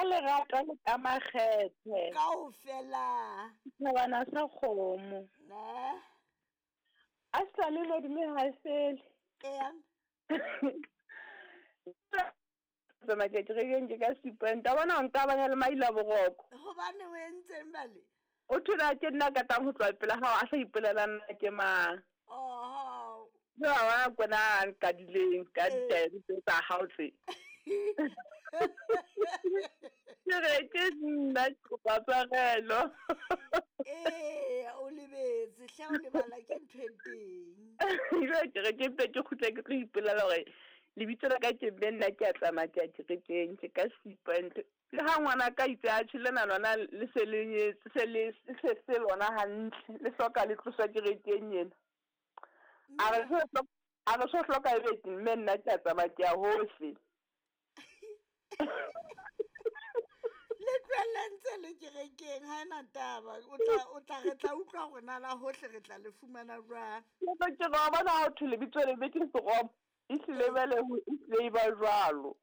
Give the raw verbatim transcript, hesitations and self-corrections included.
Ka lerato le ka makgethe. Kaofela. Setjhabana sa kgomo. Ne. A sa le lodime ha e fele. Ea. Tsamaya ke kerekeng ke ka Seapoint. A bona o nka banya le maila boroko. Gobane o entseng bale? O thola ke nna ka tang ho tloha pela hao a sa ipolela nna ke mang. Oho. Jwale wa bona kona a nkadileng ka Ee. ditaele tse tsa hao tse. Ke re ke nna ke kopa tshwarelo. Ee, o lebetse hle, o lebala ke ntho e teng. Jwale ke re ke mpe ke kgutle ke tlo ipolela hore lebitso la ka ke mme nna ke a tsamaya ke ya kerekeng ke ka Seapoint. Le ha ngwana ka itse a tjhe lena lona le se le nyetse se le se se lona hantle le hloka le tloswa kerekeng ena. A re Mme so hloka a re so hloka ebe mme nna ke a tsamaya ke ya hohle. Le tlohelle ntse le kerekeng ha ena taba. O tla o tla re tla utlwa hore na la hohle re tla le fumana jwang. Ke re ke re wa bona ha ho thwe lebitso lebe ke seromo, ehlile Ee. jwale ho ehlile e ba jwalo.